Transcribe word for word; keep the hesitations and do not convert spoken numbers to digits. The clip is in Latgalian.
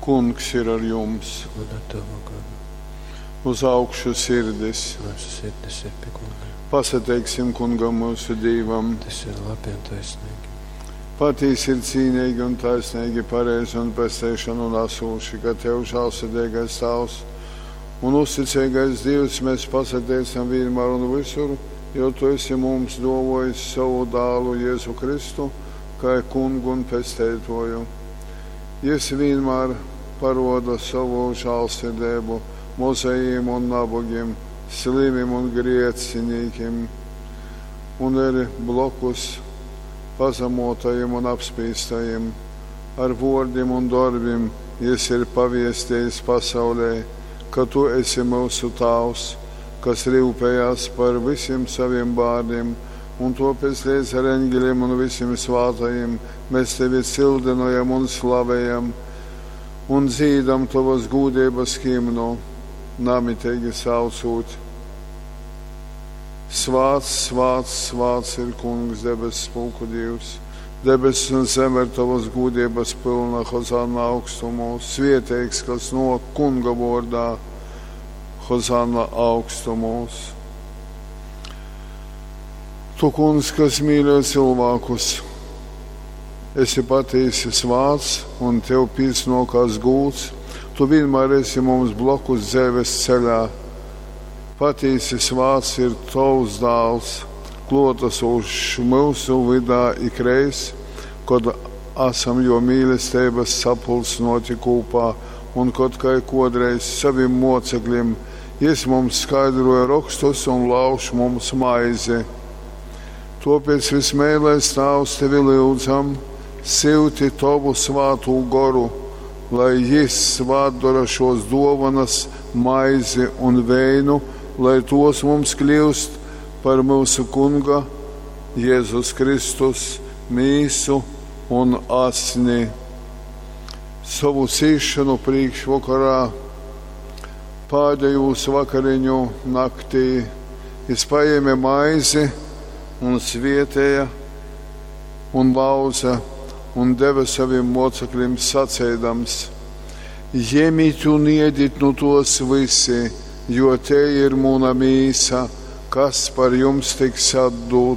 Kungs ir ar jums. Un ar tavu garu. Uz augšu sirdis. Mūsu sirdis ir pie Kunga. Pasateiksim Kungam mūsu Dīvam. Tas ir labi un taisnīgi. Patīsi ir cīnīgi un taisnīgi, pareizi un pesteišanu nesūši, ka Tev žālsirdīgais Tavs un uzticīgais Dievs mēs pasateicam vienmēr un visur, jo Tu esi mums dovojis savu dālu Jēzu Kristu, kā kungu un pesteitoju. Jis vienmēr paroda savu žālsirdību mozajiem un nabagiem, slimim un griecinīkim, un ir blokus pazemotajiem un apspīstajiem. Ar vārdiem un darbiem jis ir paviestījis pasaulē, ka tu esi mūsu Tēvs, kas rūpējās par visiem saviem bērniem, un tāpēc līdz ar eņģeļiem un visiem svātajiem mēs tevi cildinojam un slavējam un dzīdam tavas gūdības himnu, namitīgi saucot. Svāts, svāts, svāts ir Kungs, debesu pulku Dievs. Debesis un zeme ir tavas gūdības pilna, Hozana augstumos. Svieteigs, kas no Kunga vārdā, Hozana augstumos. Tu, Kungs, kas mīļo cilvēkus, esi patiesi svāts un tev pīsnokās gūts. Tu vienmēr esi mums blokus dzīves ceļā. Patiesi svāts ir tavs dāls, klotasošs mūsu vidā ikreiz, kad esam jo mīlestības sapulcnoti kopā un kad kā kodreiz saviem mocekļiem jis mums skaidroja rakstus un lauž mums maizi. Tāpēc vismēlais Tēvs tevi lūdzam, silti tavu svātu goru, lai jis svātdara šos dovanas, maizi un veinu, lai tos mums kļūst par mūsu Kunga Jēzus Kristus mīsu un asni. Savu cīšanu priekšvakarā, pēdējos vakariņu naktī, jis paēma maizi un svietēja un lauza un deva saviem mocekļiem sacēdams: Ņemiet un iediet nu tos visi, jo te ir muna mīsa, kas par jums tiks atdota.